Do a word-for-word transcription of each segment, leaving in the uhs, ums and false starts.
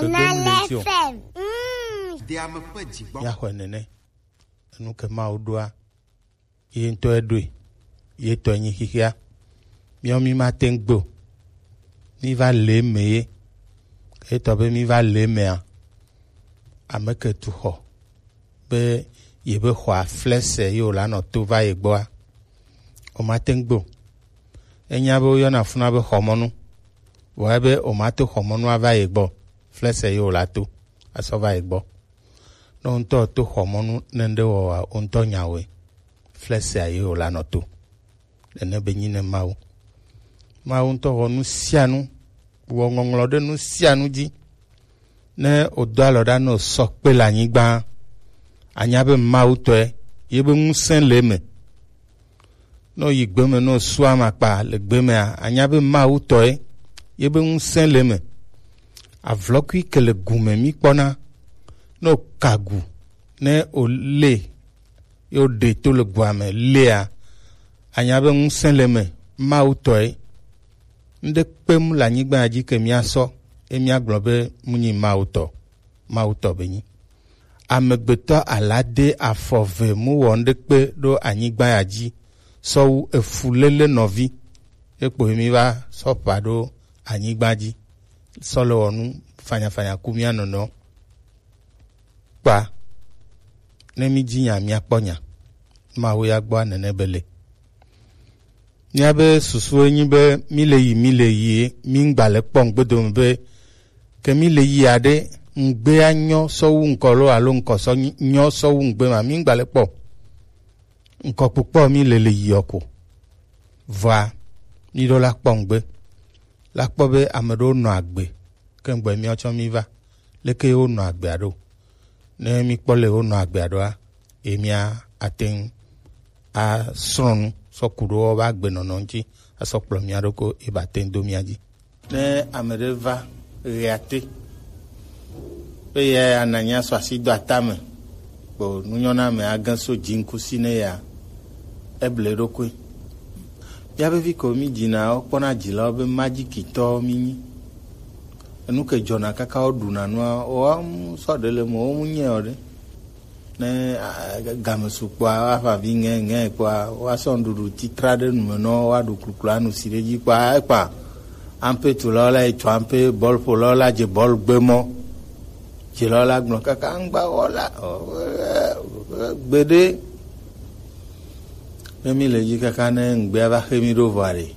Nalefem. Mm. Míaxɔe nene. Enu ke Mawu ɖoa, ye ŋutɔ eɖoe, ye tɔe nyi xixia. Míawo mí mate ŋu gbe o. Mí va le eme ye. Ke etɔ be mí va le emea, ame ke tu xɔ be ye be xɔa flɛsɛ ye wòla nɔ to va ye gbɔa, o mate ŋu gbe o. Enya be woyɔna funa be xɔmɔnu. Vɔ ebe o ma to xɔmɔnu ava ye gbɔ, flɛsɛ ye wòla to asɔ va ye gbɔ. Ne wo ŋutɔ to xɔmɔnu nɛnɖe wɔwɔa, wo ŋutɔ nya wɔe, flɛsɛa ye wòla nɔ to. Nene be nyi ne Mawu. Mawu ŋutɔ wɔ nu sia nu, wɔ ŋɔŋlɔ ɖe nu sia nu dzi. Ne wòdo alɔ ɖa ne wòsɔ kpe le anyigba, anya be Mawu tɔe, ye be ŋusẽ le eme. Ne wòyi gbe me, ne wòsu amakpa le gbe mea, anya be Mawu tɔe, ye be ŋusẽ le eme. Avlɔkui ke le gu me mí kpɔna, ne wòka gu, ne wòlé, ye wòɖe to le gua me lea, anya be ŋusẽ le eme, Mawu tɔe. Ŋɖe kpem le anyigba ya dzi ke míasɔ, ye míagblɔ be mu nyi Mawu tɔ, Mawu tɔ be nyi. Amegbetɔ ala de afɔ ve mu wɔ ŋɖekpe ɖo anyigba ya dzi sɔ wu efuléle nɔvi. Ekpo ye mí va sɔ ƒã ɖo anyigba dzi sɔ le wɔ nu fanyafanya ku mía nɔnɔewo. Kpa, ne mí dzi nya, míakpɔ nya. Mawu ya gbɔa nene be le. Míabe susu enyi be mí le yi, mí le yi, mí ŋgba le kpɔ ŋgbedome be ke mí le yi aɖe, ŋgbea nyɔ sɔ wu ŋkɔ lo alo ŋkɔ sɔ nyi-, nyɔ sɔ wu ŋgbe ma, mí ŋgba le kpɔ. Ŋkɔkpokpɔ mí le le yiɔ ko. Vɔa, mí ɖo la kpɔ ŋgbe. La kpɔ be ame ɖewo nɔ agbe, ke ŋgbɔe míawo tsɔ mí va. Leke ye wonɔ agbea ɖo? Ne mí kpɔ le wonɔ agbea ɖoa, ye mía ate ŋu asrɔ̃ nu sɔ ku ɖo woƒe agbenɔnɔ ŋuti asɔ kplɔ mía ɖokui ye ba te ŋu do mía dzi. Ne ame ɖe va ɣeate be ye ananya sɔ asi do atame, kpo nunyɔna me age so dziŋkusi ne ya, eble eɖokui. Míabe vi ko mí dzina wo kpɔna dzilawo be majikitɔwo mí nyi. Enu ke dzɔna kaka wo ɖuna nua, woawo mu sɔ ɖe le me, wo mu nyɛ o ɖe. Ne, a, game su kpɔa, woaƒã vi ŋɛ, ŋɛ kpɔa, woasɔ nuɖuɖu titra ɖe nu me nɔ, woaɖu kluklu anu si ɖe dzi kpɔa, ekpa. Ampe tulawo la yi tu ampe, bɔl ƒolawo la dze bɔl gbe mɔ. Dzilawo la gblɔ kaka ŋgba wɔ la, ɔ, ɔ, ɔ, gbeɖe. Ne mí le dzi kaka ne ŋgbea va xe mí ɖo vɔa ɖe,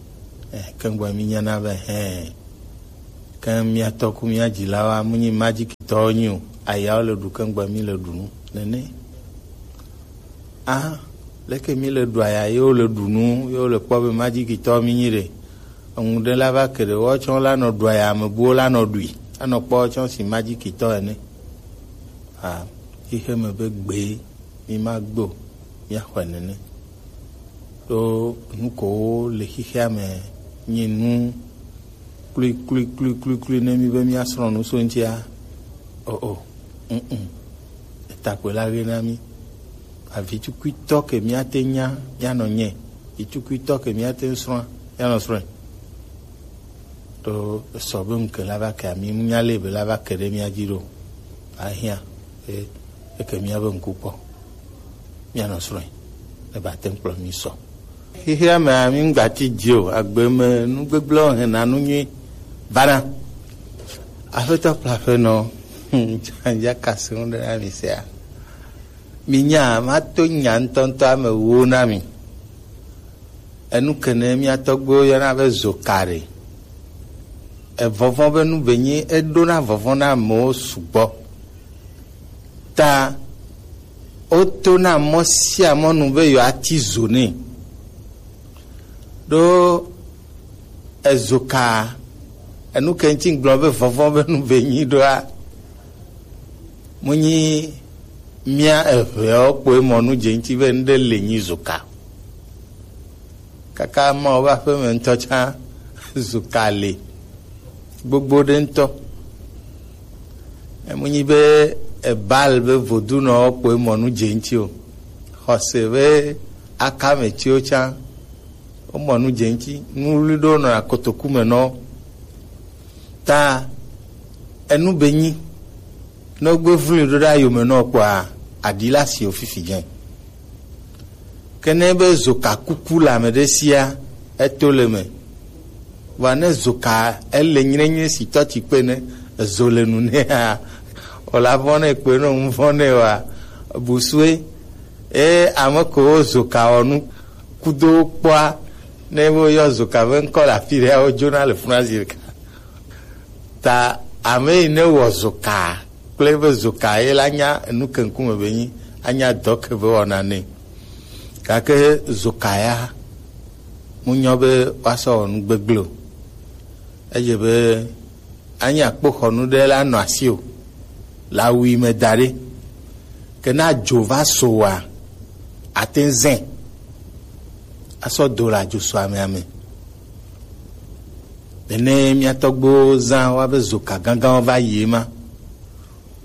eh, ke ŋgbɔ mí nyana be, hɛn. Ke mía tɔ ku mía dzilawo a, mu nyi majikitɔwo nyi o. Ayawo le ɖu ke ŋgbɔ mí le ɖu nu. Nene. A, leke mí le ɖu aya, ye wo le ɖu nu, ye wo le kpɔ be majikitɔwo mí nyi ɖe. Eŋu ɖe la va ke ɖe, woawo tsɔ la nɔ ɖu aya, ame buwo la nɔ ɖui. Anɔ kpɔ woawo tsɔ si majikitɔ ene. A, xixe me be gbe, mí ma gbe o, mía xɔe nene. Ɖo nu kowo le xixea me nyi nu kplikplikplikplikpli ne mí be mía srɔ̃ nu so ŋutia. O, o, mm, mm. Eta kpoe la ɣe na mí. Avitukuitɔ ke mía te nya, mía nɔ nyɛ. Vitukuitɔ ke mía te srɔ̃, mía nɔ srɔ̃e. Ɖo esɔ be ŋke la va ke ami ŋu nya le be la va ke ɖe mía dzi ɖo. Ahiã, e, eke mía be ŋku kpɔ. Mía nɔ srɔ̃e. Ne ba te ŋu kplɔ mí sɔ. Xixia mea, mí ŋgba ti dzi o. Agbe me nu gbegblẽ hena nu nyui vana. Aƒetɔ kple aƒenɔ, dzadza ka se ŋu ɖe na mi sia. Mi nya, ma to nya ŋutɔŋutɔ ame wo na mi. Enu kene mía tɔgbuiwo yɔna be zokari. Evɔvɔ̃ be nu be nyi, eɖona vɔvɔ̃ na amewo sugbɔ. Ta wotona mɔ sia mɔ nu be yewoati zo nɛ. Ɖo ezoka, enu ke ŋuti gblɔ be vɔvɔ̃ be nu be nyi ɖoa, mu nyi mía eʋeawo kpoe mɔ nu dze ŋuti be ŋɖe le nyi zoka. Kaka Mawu ƒe aƒeme ŋutɔ tsã zoka le gbogbo ɖe ŋutɔ. Emu nyi be ebal be vodunɔwo kpoe mɔ nu dze ŋuti o. Xɔse be akametsiwo tsã womɔ nu dze ŋuti. Nu ɣli ɖewo nɔna kotoku me nɔ. Ta Enu be nyi, ne wogbe vlui ɖo ɖe ayome nɔ kpɔa, aɖi la si wo fifi dze. Ke ne be zoka kuku le ame ɖe sia, eto le me. Vɔa ne zoka ele nyrenyre si tɔ ti kpe ne ezo le nu nɛa, o la vɔ̃ ne kpe ne ŋu vɔ̃ ne wa busue. E ame ko wo zoka wɔ nu kudo kpɔa, ne wo yɔ zoka be ŋkɔ le afi ɖe, wo dzona le funa zi ɖeka. Ta ame yi ne wɔ zoka kple be zoka ye la nya enu ke ŋkume be nyi, anya dɔ ke be wɔna nɛ. Gake zoka ya mu nyɔ be woasɔ wɔ nu gbegble o. Edze be anya kpoxɔnu ɖe la nɔ asi o, le awu yi me da ɖe. Ke ne adzo va so wa, ate ŋu zẽ asɔ do le adzo so amea me. Nene mía tɔgbuiwo zã woabe zoka gãgãwo va yi ema.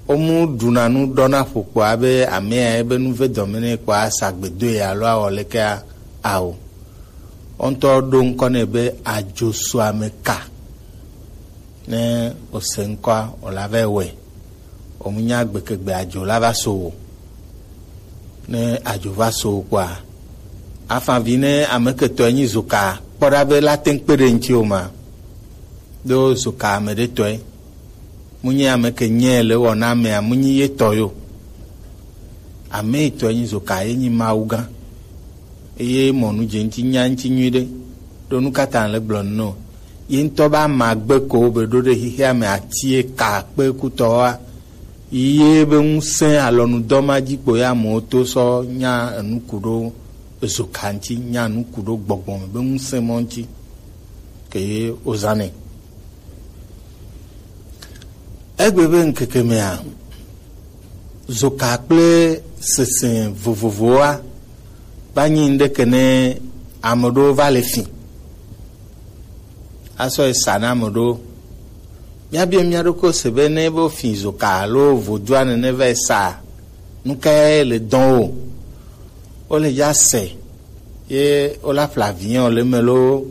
Womu ɖuna nu ɖɔna ƒo kpɔa be amea ebe nu ve dɔme nɛ kpɔa, asa gbe doe alo awɔ lekea? Ao. Wo ŋutɔ ɖo ŋkɔ nɛ be adzo so ame ka. Ne wòse ŋkɔa, wòla va wɔe. Wòmenya gbekegbe adzo la va so o. Ne adzo va so o kpɔa, afa vi ne ame ketɔe nyi zoka kpɔ ɖa be la te ŋu kpe ɖe ŋuti o ma. Ɖo zoka ame ɖe tɔe. Mu nyi ame ke nyɛ le wɔ na amea, mu nyi ye tɔ yo. Ame yi tɔe nyi zoka ye nyi Mawu gã. Eye mɔ nu dze ŋuti nya ŋuti nyuiɖe. Ɖo nu ka ta le gblɔ nu nɔ? Ye ŋutɔ be ama gbe ko be ɖo ɖe xixea me ati ye ka kpe kutɔwoa. Ye be ŋusẽ alɔnudɔ ma dzi kpo ya amewo to sɔ nya enu ku ɖo ezoka ŋuti, nya enu ku ɖo gbɔgbɔ me be ŋusẽ mɔ ŋuti. Ke ye wozãnɛ. Egbe be ŋkeke mea, zoka kple sese vovovowoa va nyi ŋɖeke ne ame ɖewo va le fi. Asɔ yi sa na ame ɖewo. Míabia mía ɖokui se be ne be wofi zoka alo vodua nene va yi sa, nu kae le dɔn wo? Wole dza se ye wola ƒle avion le eme loo,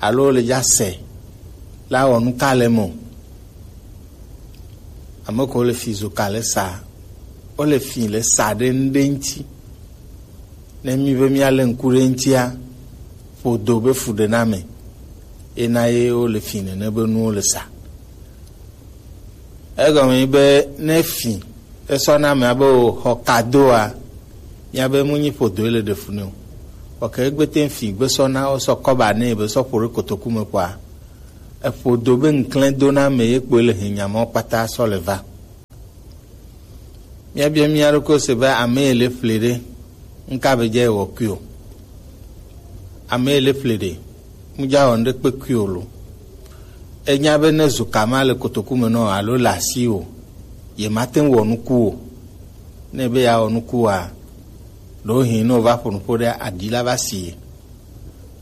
alo wole dza se la wɔ nu ka le eme o? Ame ko le fi zoka le sa, wole fi le sa ɖe nu ɖe ŋuti. Ne mí be míalé ŋku ɖe eŋutia, ƒodo be fuɖename ye na ye wole fi nene be nuwo le sa. Egɔme nyi be ne fi esɔ na ame abe wòxɔ kadoa, míabe mu nyi ƒodoe le ɖe fu nɛ o. Vɔ ke egbe te fi gbe sɔ na wosɔ kɔba nɛ be sɔ ƒo ɖe kotoku me kpɔa, eƒodo be ŋklẽ do na ame ye kpoe le hinya mawo kpata sɔ le va. Míabia mía ɖokuiwo se be ame yi le ƒle ɖe, ŋka be dze wɔ kui o. Ame yi le ƒle ɖe, mu dza wɔ ŋɖe kpe kui o lo. Enya be ne zuka ma le kotoku me nɔ alo le asi o, ye mate ŋu wɔ nuku o. Ne be ya wɔ nuku wa, ɖewohĩ ne wòva ƒo nuƒo ɖe aɖi la va si ye.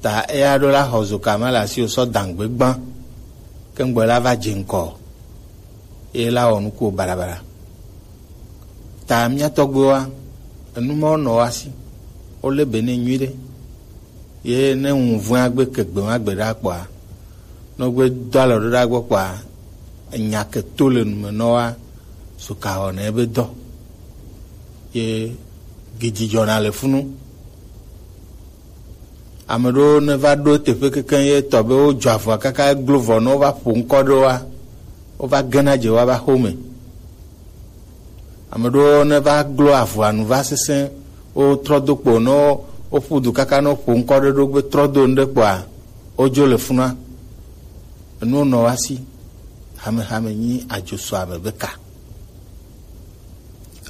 Ta eya ɖo la xɔ zuka ma le asi o sɔ dangbe gbã, ke ŋgbɔ la va dze ŋkɔ. Ye la wɔ nukuwo baɖabaɖa. Ta mía tɔgbuiwoa, enu mawo nɔ woa si, wolé be nɛ nyuiɖe. Ye ne ŋu vɔ̃e agbe ke gbe ma gbe ɖa kpɔa, ne wogbe do alɔ ɖo ɖa gbɔ kpɔa, enya ke to le nu me nɔ woa, zuka wɔna ebe dɔ. Ye gidzidzɔna le funu. Ame ɖewo ne va ɖo teƒe kekeŋ ye tɔ be wodzɔ avɔa kaka eglo vɔ ne wova ƒo ŋkɔ ɖe woa, wova gena dze woa va xome. Ame ɖewo ne va glo avɔa nu va sesẽ, wotrɔ do kpo ne wo- woƒu du kaka ne woƒo ŋkɔ ɖe ɖo gbe trɔ do nu ɖe kpoa, wodzo le funua. Enuwo nɔ woa si, hamehame nyi adzo sɔ ame be ka.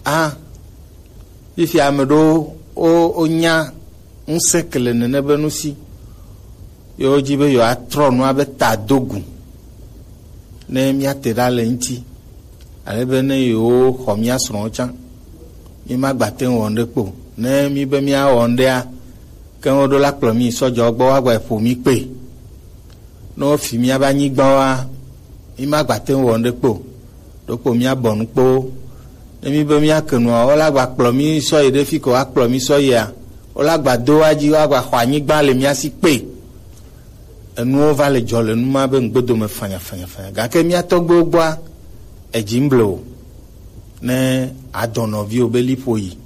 A, fifia ame ɖewo wo- wonya ŋusẽ ke le nene be nu si. Yewo dzi be yewoatrɔ nua be ta do gu. Ne míate ɖa le ŋuti, ale be ne yewo xɔ mía srɔ̃wo tsã, mímagbate ŋu wɔ ŋɖe kpo. Ne mí be míawɔ ŋɖea, ke woɖo la kplɔ mí sɔ dze wo gbɔ woagba ƒo mí kpe. Ne wofi míabe anyigbawoa, mímagbate ŋu wɔ ŋɖe kpo o. Ɖokpo míabɔ nu kpo. Ne mí be míake nua, wola gba kplɔ mí sɔ yi ɖe fi ko woakplɔ mí sɔ yia, wola gba do wa dzi, woagba xɔ anyigba le mía si kpe. Enuwo va le dzɔ le nu ma be ŋgbedo me fanyafanyafanya. Gake mía tɔgbuiwo gbɔa, Edzi ŋgble o. Ne adɔnɔviwo be liƒo yi,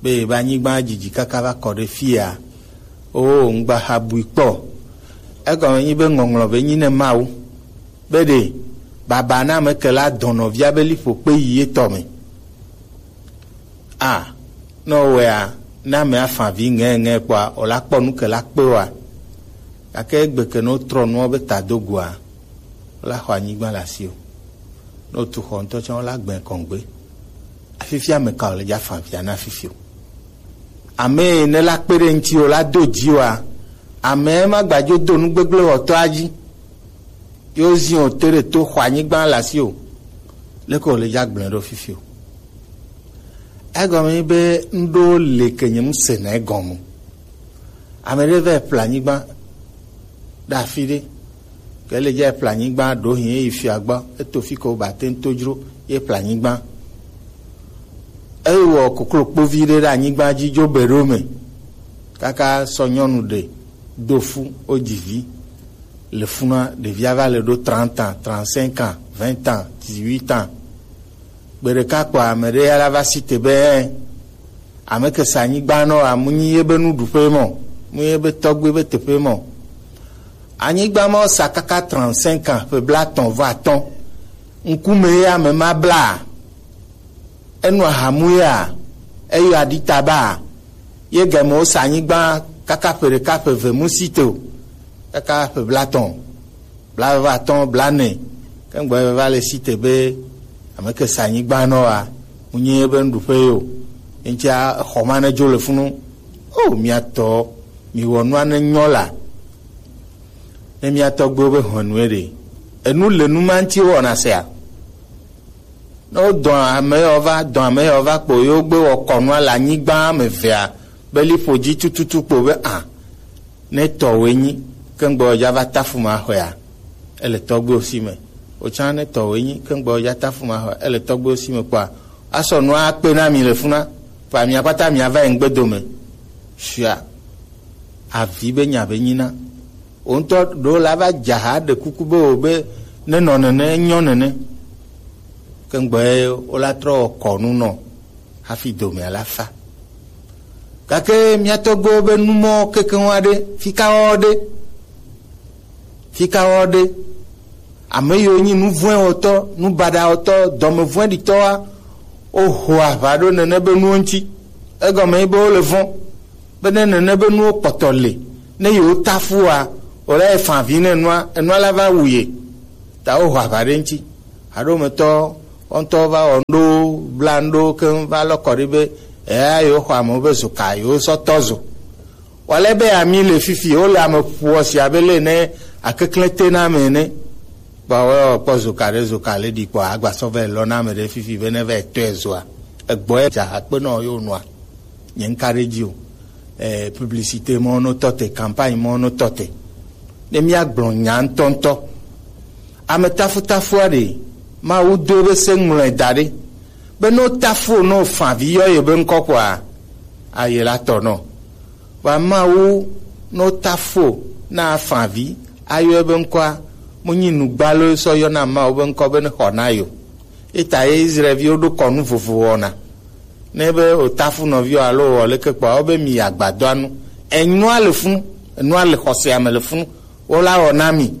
be ebe anyigba dzidzi kaka va kɔ ɖe fia, o ŋgba ha bui kpɔ. Egɔme nyi be ŋɔŋlɔ be nyi ne Mawu be ɖe baba na ame ke la dɔnɔvia be liƒo kpe yi etɔ me. A, ne wowɔea, ne ame afã vi ŋɛŋɛ kpɔa, wòla kpɔ nu ke la kpe oa? Gake egbe ke ne wotrɔ nuwo be tadogoa, wola xɔ anyigba le asiwò. Ne wotu xɔ ŋutɔ tsã, wola gbɛ kɔŋgbe. Afifia ame ka wòle dza fã via na fifi o? Ame yi ne la kpe ɖe ŋuti o la do dzi oa? Ame ma gbadzo do nu gbegblẽ wɔtɔa dzi. Yo zi o te ɖe to xɔ anyigba le asiwò. Leke wòle dza gblẽ ɖo fifi o? Egɔme nyi be ŋɖewo le ke nye ŋusẽ na egɔme. Ame ɖe va ƒle anyigba ɖe afi ɖe. Ke le dza ƒle anyigba ɖo hin eyi fia gbɔ, eto fi ko ba te ŋu to dzro ye ƒle anyigba. Ewɔ koklo kpovi ɖe ɖe anyigba dzi dzo be ɖo me. Kaka sɔ nyɔnu ɖe do fu wo dzi vi. Le funua ɖevia va le ɖo trente ans, trente-cinq ans, vingt ans, dix-huit ans. Gbe ɖeka kpɔ ame ɖe ya la va si te be, ame ke sa anyigba nɔ wa, mu nyi ye be nuɖuƒe mɔ, mu nyi ye be tɔgbe be teƒe mɔ. Anyigba ma sa kaka trente-cinq ans, ƒe blaetɔ̃ vɔ atɔ̃. Ŋkume ye ame ma bla. Enu ahamu ya, eyɔ aɖitaba, ye game wosa anyigba kaka ƒe ɖeka ƒe eve mu si te o, kaka ƒe blaetɔ̃, blaeve atɔ̃, blaene, ke ŋgbɔ va le si te be ame ke sa anyigba nɔ wa, ŋunye be nuɖuƒe yo, ŋutia exɔ ma ne dzo le funu. O, mia tɔ, mi wɔ nua ne nyɔ la, ne mia tɔgbewo be hɔnue ɖe, enu le nu ma ŋuti wɔna sea? Ne wodɔ ame yawo va, dɔ ame yawo va kpo, yewo gbe wɔ kɔnua le anyigba me evea be liƒo dzi tututu kpo be a, ne tɔwòe nyi, ke ŋgbɔ dza va tafu ma xɔea, ele tɔgbewo si me. Wotsã ne tɔwòe nyi, ke ŋgbɔ dza tafu ma xɔea, ele tɔgbewo si me kpɔa, asɔ nua akpe na mi le funa, kpa mia kpata mia va yi ŋgbe dome. Sia avi be nya be nyina. Wò ŋutɔ ɖewo la va dza ha ɖe kuku be wò be ne nɔ nene, nyɔ nene. Ke ŋgbɔe wola trɔ wɔ kɔnu nɔ hafi domea la fa. Gake mia tɔgbewo be numɔ kekeŋ aɖe, fika wɔ ɖe, fika wɔ ɖe. Ame yiwo nyi nu vɔ̃e wɔtɔ, nu baɖa wɔtɔ, dɔme vɔ̃ɖitɔa, woho aʋa ɖo nene be nuwo ŋuti. Egɔme ye be wole vɔ̃. Be ne nene be nuwo kpɔtɔ le, ne yewo ta fua, wòle ye fa vi ne enua, enua la va wu ye. Ta woho aʋa ɖe ŋuti. Haɖometɔ wɔntɔ va wɔ ŋɖo, bla ŋɖo keŋ va lɔ kɔ ɖi be, eya yewo xɔ amewo be zo ka, yewo sɔ tɔ zo. Wale be ami le fifi, wole ame ƒoɔ sia be le ne akeklẽ te na ame ene. Kpɔ, woyɔ kpɔ zo ka ɖe, zo ka le ɖi kpɔ, agba sɔ vɛ lɔ na ame ɖe fifi be ne vɛ tɔe zoa. Egbɔ ye dza akpe nɔ yo nua. Nye ŋka ɖe dzi o. Eh, publicité mɔ no tɔ te, campagne mɔ no tɔ te. Ne mía gblɔ nya ŋutɔŋutɔ. Ame tafutafua ɖe, Mawu do ebe se ŋlɔe da ɖe. Be no tafu no fa vi yɔ ye be ŋkɔ kɔa, aye la tɔ nɔ. Wa Mawu no tafu na fa vi, ayɔ ebe ŋkɔa, mo nyi nugbalo sɔ yɔ na Mawu be ŋkɔ be ne xɔ na yo. Eta ye Israelviwo ɖo kɔnu vovo wɔna. Ne be o tafu nɔviwo alo wɔ leke kpɔa, wo be mi agbadɔa nu. Enua le funu, enua le xɔsea me le funu, wo la wɔ na mi.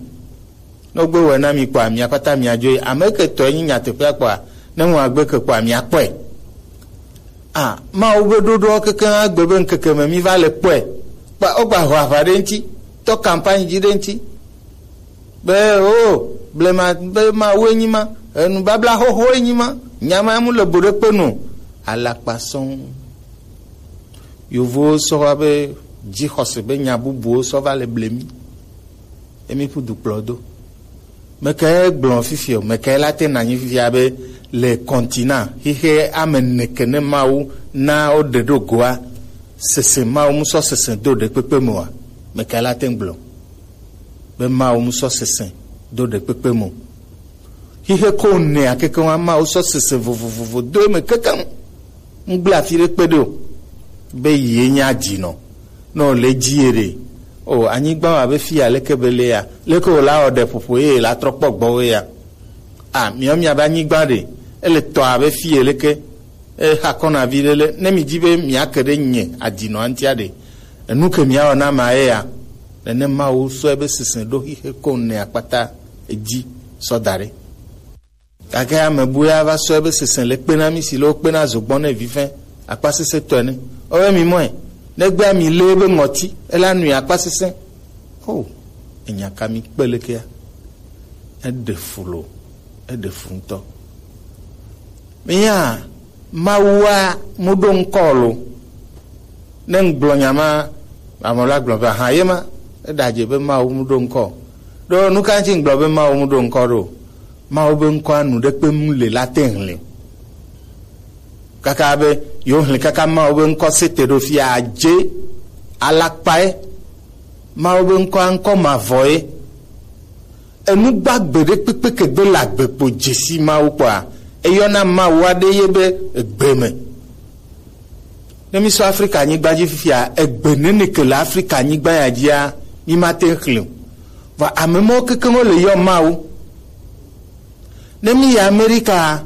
Ne wogbe wɔe na mi kpɔa, mia kpata mia dzo yi. Ame ke tɔe nyi nyateƒea kpɔa, ne ŋu agbe ke kpɔa, mia kpɔe. A, Mawu be ɖoɖoa keke agbe be ŋkeke me mi va le kpɔe. Kpa, wogba ho aʋa ɖe ŋuti, tɔ campagne dzi ɖe ŋuti. Be, o, blema, be Mawue nyi ma, enubabla xoxoe nyi ma, nya ma mu le bo ɖe kpe nu. Alakpa sɔŋ. Yovowo sɔ va be dzixɔse be nya bubuwo sɔ va le ble mi. Emi ƒu du kplɔ do. Meke gblɔ fifi o, meke la te na nyi fifia be le continent, xixe ame neke ne Mawu na wo ɖe ɖo goa, sese Mawu mu sɔ sese do ɖe kpekpe me wa. Meke la te gblɔ be Mawu mu sɔ sese do ɖe kpekpe me o. Xixe ko nea keke wa Mawu sɔ sese vovovovo do eme keke ŋu. Ŋgble afi ɖe kpe ɖe o. Be yi ye nya dzi nɔ. Nɔ le dzi ye ɖe. O, anyigba wa be fi ya leke be le ya. Leke o la wɔ ɖe ƒoƒo ye la trɔ kpɔ gbɔ we ya. A, miɔ miabe anyigba ɖe, ele tɔ abe fi ye leke, e, hakɔna vi ɖe le, ne mi di be miake ɖe nye adinɔ antia ɖe, enu ke miawɔ na ma ye ya, nene Mawu sɔ ebe sese ɖo xixe ko ne akpata edzi sɔ da ɖe. Gake ame bu ya va sɔ ebe sese le kpe na mi si le wo kpe na zogbɔ ne vivɛ akpa sese tɔe ne. Owe mi mɔe, ne gbea mi le ebe ŋɔti, ela nui akpa sese. O, enya ka mi kpe lekea? Eɖe fu lo, eɖe fu ŋutɔ. Minya Mawua mu ɖo ŋkɔ lo. Ne ŋgblɔ nya ma, ame la gblɔ be, aha, ye ma, eɖe adze be Mawu mu ɖo ŋkɔ. Ɖo nu ka ŋuti ŋgblɔ be Mawu mu ɖo ŋkɔ ɖo? Mawu be ŋkɔa nu ɖe kpe mu le la te ŋli. Kaka be yewo ŋli kaka Mawu be ŋkɔ sete ɖo fia adze alakpae. Mawu be ŋkɔa ŋkɔ mavɔ ye. Enu gbagbe ɖe kpekpe ke gbe le agbe kpo dzesi Mawu kpɔa, eyɔna Mawu aɖe ye be egbe me. Ne mi sɔ Afrika nyigba dzi fifia, egbe nene ke le Afrika nyigba ya dzia, mi ma te xlẽ o. Vɔ ame mɔwo kekeŋ wo le yɔ Mawu. Ne mi yi Amerika,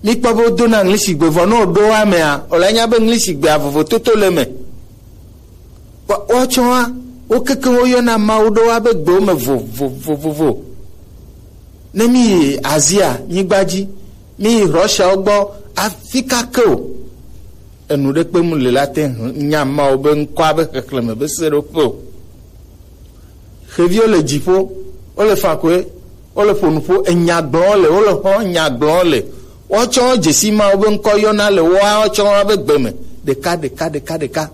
mi kpɔ be wodona ŋlisigbe vɔ ne woɖo wa mea, wòle nya be ŋlisigbea vovototo le eme. Wa-, woatsɔa, wo kekeŋ woyɔna Mawu ɖo wa be gbewo me vovovovovo. Ne mi yi Azia nyigba dzi, mi yi Russiawo gbɔ, afi ka ke o, enu ɖe kpe mu le la te ŋu nya Mawu be ŋkɔa be xexlẽme be seɖoƒe o. Xeviwo le dziƒo, wole fakɔe, wole ƒo nuƒo, enya gblɔm le, wole xɔ nya gblɔm le. Woatsɔ dzesi Mawu be ŋkɔ yɔna le woawo tsɔ woabe gbe me. Ɖeka, ɖeka, ɖeka, ɖeka.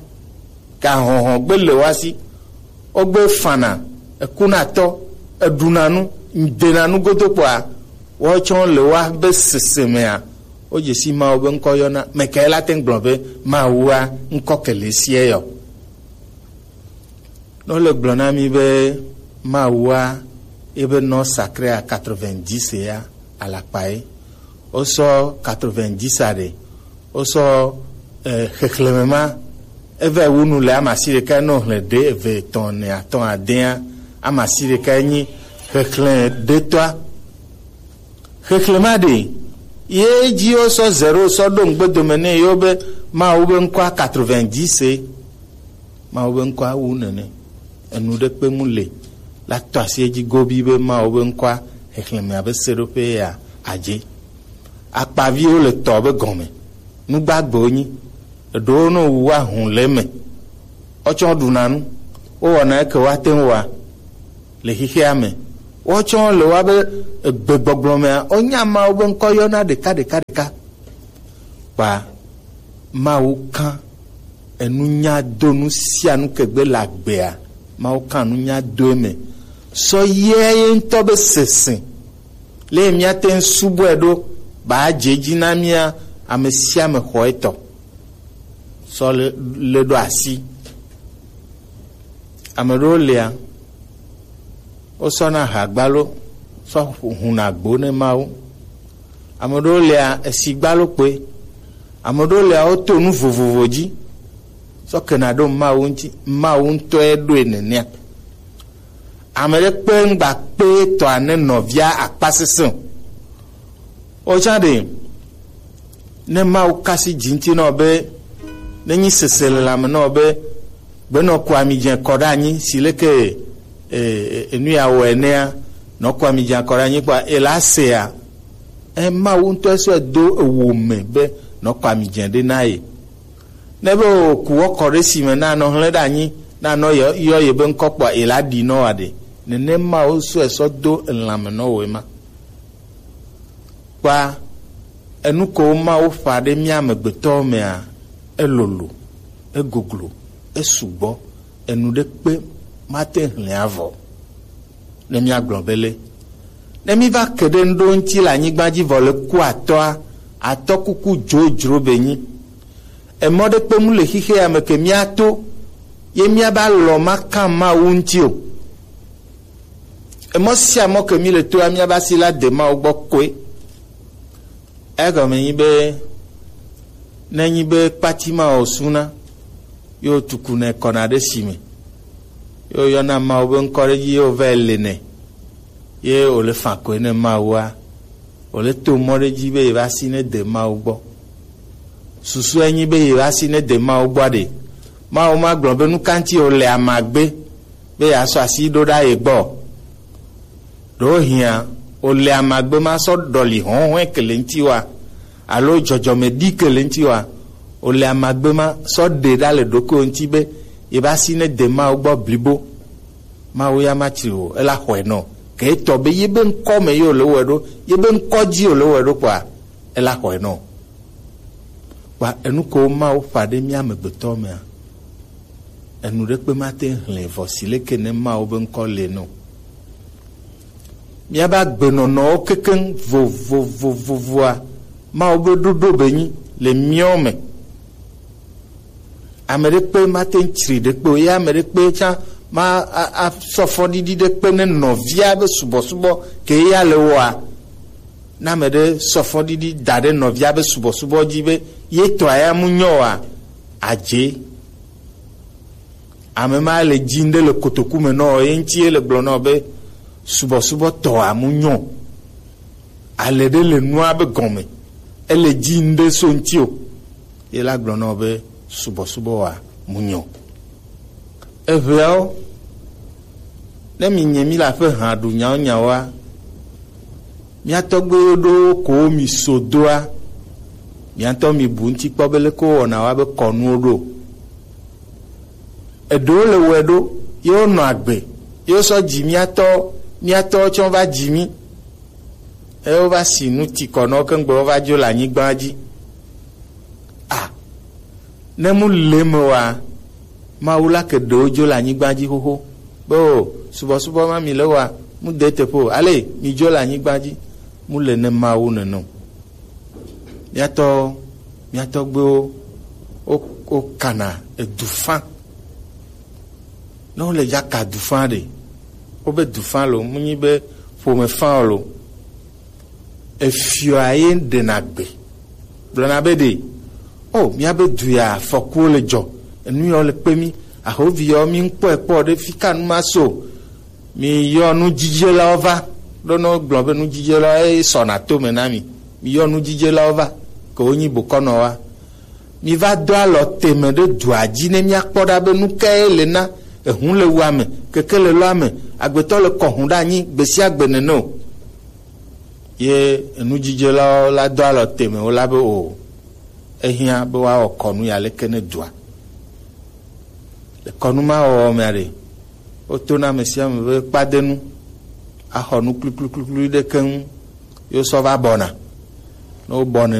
Gahɔhɔ gbe le woa si. Wogbe fana, ekuna tɔ, eɖuna nu, dena nu godo kpɔa, woatsɔ le woabe sese mea, wodzesi Mawu be ŋkɔ yɔna. Mekae la te ŋu gblɔ be Mawua ŋkɔ ke le sie yɔ? Ne wole gblɔ na mi be Mawua ebe nɔ sacré à quatre-vingt-dix ya alakpa ye. Wosɔ quatre-vingt-dix a ɖe. Wosɔ, eh, xexlẽme ma. Eve wu nu le amasi ɖeka nɔ xlẽ ɖe eve etɔ̃ ne atɔ̃ adea. Amasi ɖeka nyi xexlẽ ɖetɔa. Xexlẽma ɖe ye dzi wosɔ zero sɔ ɖo ŋgbedome nɛ yewo be Mawu be ŋkɔa quatre-vingt-dix ye. Mawu be ŋkɔa wu nene. Enu ɖe kpe mu le la tɔ asi edzi gobi be Mawu be ŋkɔa xexlẽmea be seɖoƒe ya adze. Akpaviwo le tɔ be gɔme. Nugbagbewo nyi. Eɖewo no wu wa hũ le eme. Wotsɔ ɖuna nu. Wowɔna eke woate ŋu wɔa le xexea me. Wotsɔ le woabe egbegbɔgblɔ mea, wonya Mawu be ŋkɔ yɔna ɖeka ɖeka ɖeka. Kpa Mawu kan enunya do nu sia nu ke gbe le agbea, Mawu kan nunya do eme. Sɔ yɛ ye ŋutɔ be sese le míate ŋu subɔe ɖo ba dze edzi na mía ame sia ame xɔ etɔ. Sɔ le, le ɖo asi. Ame ɖewo lia, wosɔna hagbalo sɔ huna gbo ne Mawu. Ame ɖewo lia, esigbalo kpoe. Ame ɖewo lia, woto nu vovovo dzi sɔ kena ɖo Mawu ŋuti. Mawu ŋutɔe ɖoe nenea. Ame ɖe kpe ŋgba kpe tɔa ne nɔvia akpa sesẽ o. Wotsã ɖe, ne Mawu kasi dzi ŋuti nɔ be, ne nyi sese le lãme nɔ be, gbenɔ ku ami dze kɔ ɖe anyi, si leke, e, e, enu ya wɔ enea, nɔ ku ami dze kɔ ɖe anyi kpɔa, ela sea, e, Mawu ŋutɔ sɔe do ewo me be, nɔ ku ami dze ɖe na ye. Ne be wòku wɔ kɔ ɖe si me, na nɔ hlẽ ɖe anyi, na nɔ yɔ, yɔ ye be ŋkɔ kpɔa, ela ɖi nɔ wa ɖe. Nene Mawu sɔe sɔ do elãme nɔ wòe ma. Kpa enu ko Mawu ƒã ɖe mía amegbetɔwo mea, elolo, egoglo, esugbɔ, enu ɖe kpe mate ŋu hlẽ avɔ. Ne míagblɔ be le, ne míva ke ɖe ŋɖo ŋuti le anyigba dzi vɔ le ku atɔa, atɔ kuku dzodzro be nyi. Emɔ ɖe kpe mu le xixe ya me ke míato, ye míaba lɔ ma kan Mawu ŋuti o. Emɔ sia mɔ ke mi le toa, míaba si la de Mawu gbɔ koe. Egɔme nyi be, ne nyi be kpati ma o suna, yo tuku ne kɔna ɖe si me, yo yɔna Mawu be ŋkɔ ɖe dzi, yo vɛ le ne, ye o le fa koe ne Mawua, Wòle to mɔ ɖe dzi be yewoasi ne de Mawu gbɔ. Susu enyi be yewoasi ne de Mawu gbɔ ɖe, Mawu ma gblɔ be nu ka ŋuti wòle amagbe be yeasɔ asi ɖo ɖa ye gbɔ. Ɖewohĩa, wòle amagbe ma sɔ ɖɔli hɔ̃hɔ̃e ke le ŋuti wa, alo dzɔdzɔme ɖi ke le ŋuti wa, wòle amagbe ma sɔ ɖe ɖa le ɖokuiwo ŋuti be yewoasi ne de Mawu gbɔ blibo. Mawu ya matsri o, ela xɔe nɔ. Ke etɔ be yebe ŋkɔ me ye wòle wɔe ɖo, yebe ŋkɔ dzi wòle wɔe ɖo kpɔa, ela xɔe nɔ. Kpa enu ko Mawu ƒã ɖe mía amegbetɔ mea, enu ɖekpe mate ŋu hlẽ vɔ si leke ne Mawu be ŋkɔ le nɔ. Míabe agbenɔnɔwo kekeŋ vovovovovoa, Mawu be ɖoɖo be nyi le míawo me. Ame ɖekpe mate ŋu tsri ɖekpe o, ye ame ɖekpe tsã ma a- asɔ fɔɖiɖi ɖekpe ne nɔvia be subɔsubɔ ke ya le wɔa. Ne ame ɖe sɔ fɔɖiɖi da ɖe nɔvia be subɔsubɔ dzi be ye tɔa ya mu nyɔ oa, adze. Ame ma le dzi ŋɖe le kotoku me nɔ ye ŋuti ye le gblɔ nɔ be subɔsubɔ tɔa mu nyɔ. Ale ɖe le nua be gɔme. Ele dzi ŋɖe so ŋuti o. Ye la gblɔ nɔ be subɔsubɔ wa mu nyɔ. Eʋeawo, ne mi nye mi la ƒe hã ɖu nyawo nyawoa, mía tɔgbuiwo ɖo ko mi so doa, mía ŋutɔ mi bu ŋuti kpɔ be leke wowɔna wa be kɔnuwo ɖo. Eɖewo le wɔe ɖo, ye wonɔ agbe, ye wosɔ dzi mía tɔ, mía tɔwo tsɔ va dzi mí. Eye wova si nu ti kɔ nɔ wo keŋgbe wova dzo le anyigba dzi. A, ne mu le me wa, Mawu la ke ɖewo dzo le anyigba dzi xoxo. Be o, subɔsubɔ ma mi le wa, mu de teƒe o. Ale mi dzo le anyigba dzi, mu le ne Mawu nene o. Míatɔ, míatɔgbewo, wo, wo kana edu fã. Ne wole dza ka du fã ɖe, wobe du fã lo, mu nyi be ƒome fã o lo. Efiɔa ye ɖena gbe. Gblɔna be ɖe, o, míabe du ya afɔkuwo le dzɔ, enu yawo le kpe mí, ahovi yawo mí ŋkpɔe kpɔ ɖe fi ka nu ma so. Mi yɔ nudzidzelawo va, ɖo ne wogblɔ be nudzidzelawo ye sɔna to me na mi. Mi yɔ nudzidzelawo va, ke wonyi bokɔnɔwoa. Mi va do alɔ teme ɖe dua dzi ne míakpɔ ɖa be nu kae le na ehu le wua me, keke le lɔa me, agbetɔ le kɔhu ɖe anyi gbe sia gbe nene o. Ye enudzidzelawo la do alɔ teme wo la be o, ehiã be woawɔ kɔnu ya leke ne dua. Le kɔnu ma wɔwɔ mea ɖe, wotona ame sia ame be kpadenu axɔ nu kplikplikplikpli ɖe keŋ, ye wosɔ va bɔna. Ne wobɔnɛ